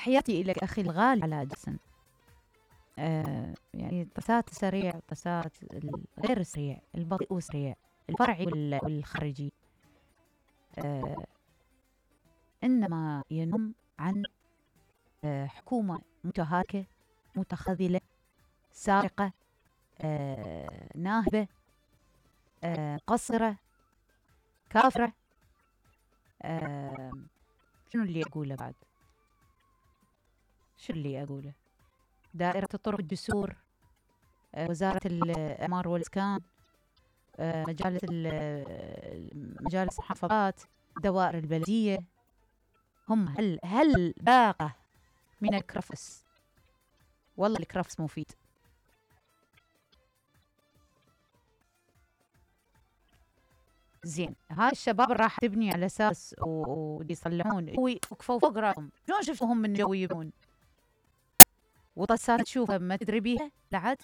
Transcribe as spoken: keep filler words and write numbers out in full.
تحياتي إلك أخي الغالي على جسم. آه يعني طسات سريع، طسات غير سريع، البطيء وسريع، الفرعي والخارجي، آه إنما ينم عن آه حكومة متهالكة، متخاذلة، سارقة، آه ناهبة، آه قصرة، كافرة. آه شنو اللي أقوله بعد؟ شو اللي أقوله؟ دائرة الطرق الجسور، آه وزارة الإعمار والإسكان، آه مجالس مجالس المحافظات، دوائر البلدية، هم هل هل باقة من الكرفس. والله الكرفس مفيد. زين، هاي الشباب راح تبني على اساس ويصلحون وقفوا فوق راسهم. شلون شفتوهم من جو يبون؟ وطسات تشوفها ما تدري بيها لعد.